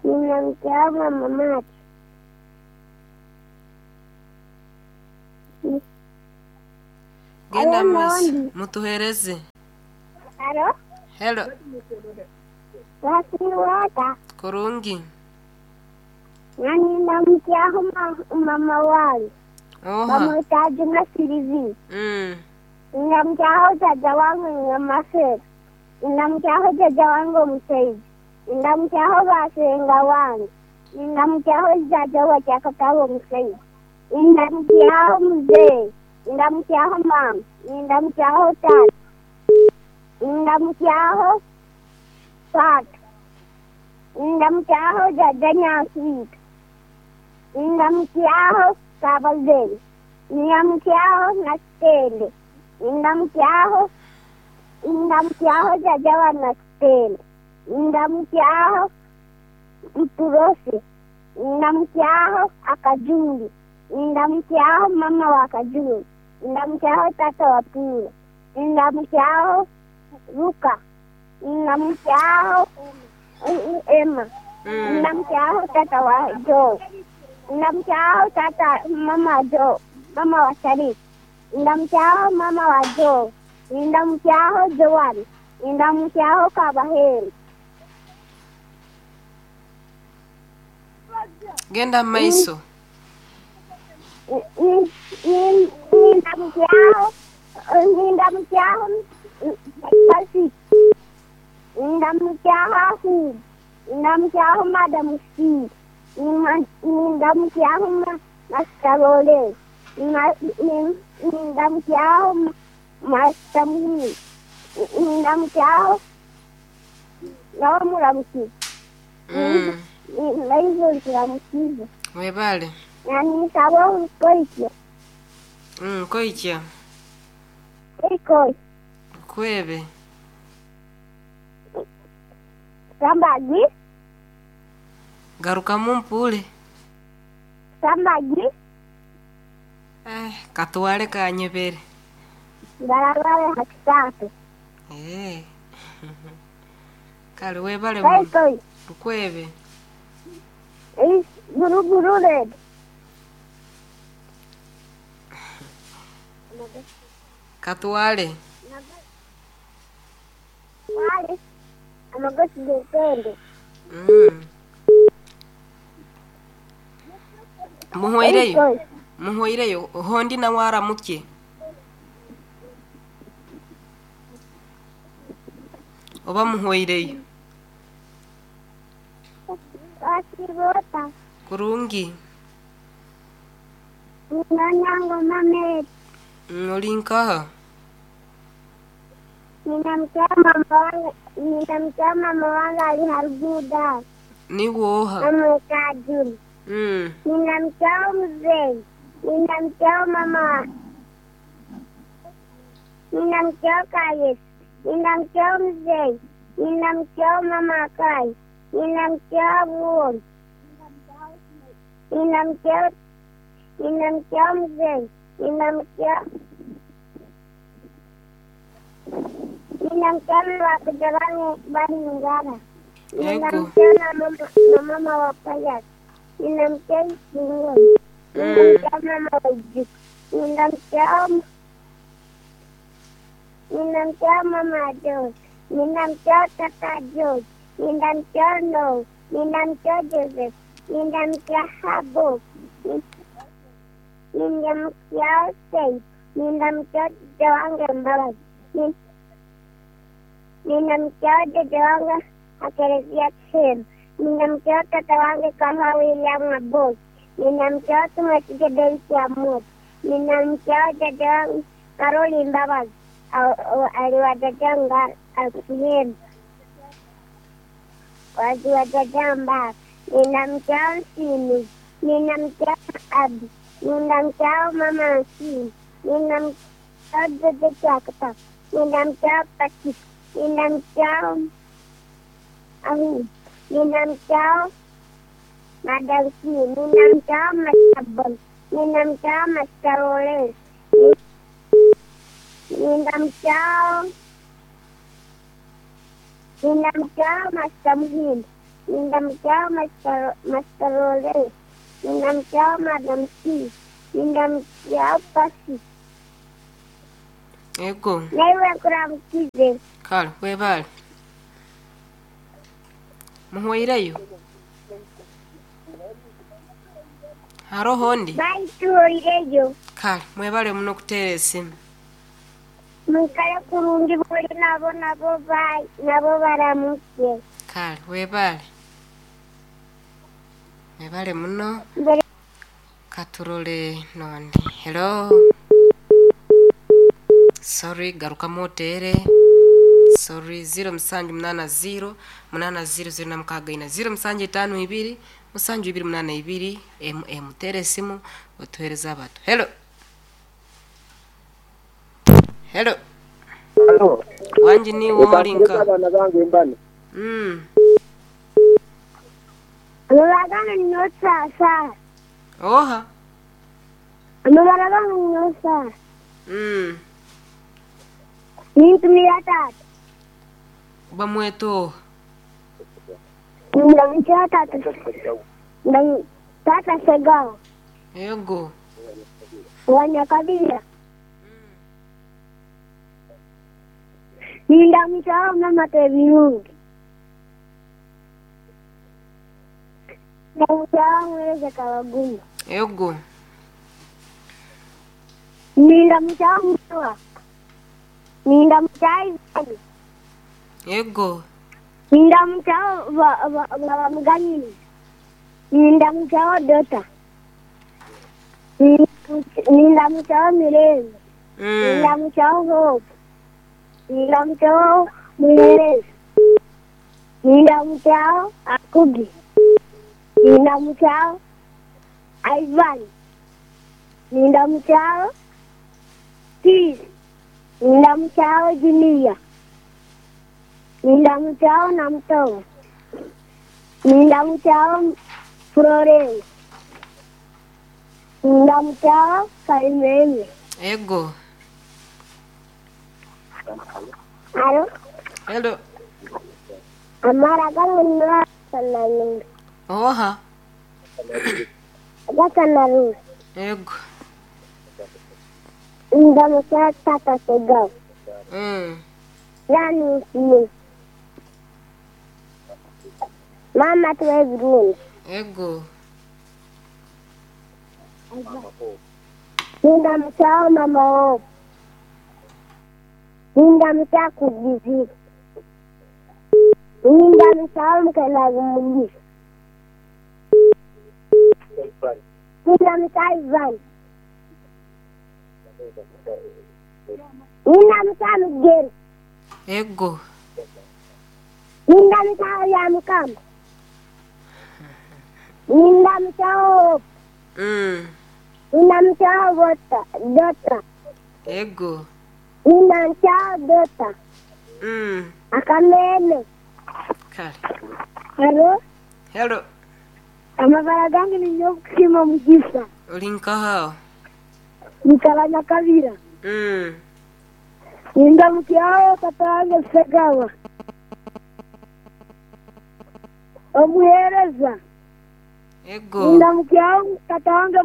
Ninamukyaho mama Maati. Genda Hariho mumaiso n'ondi. Mutuhereze. Haro? Hello. Wasiiba ota? Kurungi. Nanye ndamukyaho mama wange. Oha. Bamweta Juma Sylvie. Ndamukyaho jajja wange Nyamasera. Ndamukyaho jajja wange omushaija. Ndamukyaho basenga wange. Ndamukyaho jajja wa Kyakataba omushaija. Ndamukyaho muzeeyi. Ndamukyaho maama. Ndamukyaho taata. Ndamukyaho taata. Ndamukyaho jajja Nyanswita. Ndamukyaho Kabazenyi. Ndamukyaho Nakitende. Ndamukyaho ndamukyaho jajja wa Nakitende. Ndamukyaho Mpurosi. Ndamukyaho Akajumbi. Ndamukyaho mama wa Kajumbi. Ndamukyaho tata wa Pilo. Ndamukyaho Luka. Ndamukyaho Emma. Ndamukyaho tata wa Joe. Ndamukyaho tata mama Joe, mama wa Sharif. Ndamukyaho mama wa Joe. Ndamukyaho Joan. Ndamukyaho Kabaheri. Genda mumaiso. Ndamukyaho ndamukyaho Patrick. Ndamukyaho Ahub. Ndamukyaho Madam Steve. Ndamukyaho Master Lole. Ndamukyaho Master Muhini. Ndamukyaho nawe muramukize. Naizo nkiramukize. Webale. Nanisaba obukoikyo. Koikya. Koikoi. Kwebe. Sambagi. Garukamu mpule. Sambagi. Eh, katwale kanyebere. Barabara hakisatu. Eh. Kale webale muno. Koikoi. Lukwebe. Guruguru red. Katwale. Wale. Amagosi g'empende. Muhweireyo. Koikoi. Muhweireyo. Hondi nawe aramukye. Oba muhweireyo. Wasiiba ota. Kurungi. Ninonyango Mary. Ori nkaha? Ninamkia mama wangu, ninamkia mama wangu alihariguda Niwe oha? namweta Juni. Ninamkia mzee, ninamkia mama, ninamkia Kayes, ninamkia mzee, ninamkia mama Kai, ninamkia Buon, ninamkia ninamkia mzee, ninamkia ninamkia mama wa Baningara, ninamkia na mama na mama wa Payas, ninamkia Isingoni, ninamkia mama wa Ijuk, ninamkia ninamkia mama George, ninamkia tata George, ninamkia No, ninamkia Joseph, ninamkia Habo, ninamkia Said, ninamkia dada wangu Mbabazi, ninamkia dada wangu Akelezia Kim, ninamkia tata wangu kama William Abot, ninamkia Tumwesige Daisy Amot, ninamkia dada wangu Karoli Mbabazi aliwadadanga Alfihemu waliwadada Mbaba, ninamkia Nsimi, ninamkia Abi, ninamkia mama Nsimi, ninamkia dada Chakata, ninamkia Patrick, ninamkia Ahu, ninamkia Madam C, ninamkia Master Bon, ninamkia Master Ole, ninamkia ninamkia Master Muhindi, Nindamukiaho Master Lawrence. Nindamukiaho Madam T. Nindamukiaho Pasi. Ego. Naiwe nkuramukize. Kale webale. Muhweireyo? Haroho ondi? Bye tuhoireyo. Kale mwebale muno okuteera esimu. Mwikale kurungi buli nabo nabo bye nabo baramuke. Kale webale. Mwebale muno. Mbere Katurole nondi. Hello. Sorry, garukamu oteere. Sorry, 0780 8006 0752 7282 mm. Teera esimu otuheereze abantu. Hello. Hello. Halo. Wangi niiwe Leka olinka. abaana bange mbano. Amabara ninyosa. Oha. Amabara gange ninyosa. Nintumira tata. Bamweta oha? Nindamukiaho tata. Tata Segawa. Ego. Wa Nyakabira. Nindamukiaho mama Tebirungi. Nindamukiaho Mweze Kabaguma. Ego. Nindamukiaho Mutua. Nindamukiaho Ivani. Ego. Nindamukiaho Baba Muganyini. Nindamukiaho Dota. Nindamukiaho Mirembe. Nindamukiaho Hope. Nindamukiaho Muhereza. Nindamukiaho Akugi. Nindamukiaho Ivan. Nindamukiaho Peace. Nindamukiaho Junior. Nindamukiaho Namtogo. Nindamukiaho Florence. Nindamukiaho Kalimeme. Ego. Alo. Hello. Amara gange ninasananunga. Oha. Gasanarunga. Ego. Ndamukiaho Tata Segawa. Yani Mama Twebirungi. Ego. Nindamukiaho Mama Hope. Nindamukiaho Kugizira. Nindamukiaho Mukelazi Mugisha. Nindamukiaho Ivan. Nindamukiaho Mugeri. Ego. Nindamukiaho Byamukama. Nindamukiaho Hope. Nindamukiaho Bota. Dota. Ego. Nindamukiaho Dota. Akameme. Kale. Halo. Hello. Amabara gange ni Nyokusima Mugisa. Oli nkaha? Nikala Nyakabira. Nindamukiaho tata wange Segawa. Omuhereza. Ego. Nindamukiaho tata wange.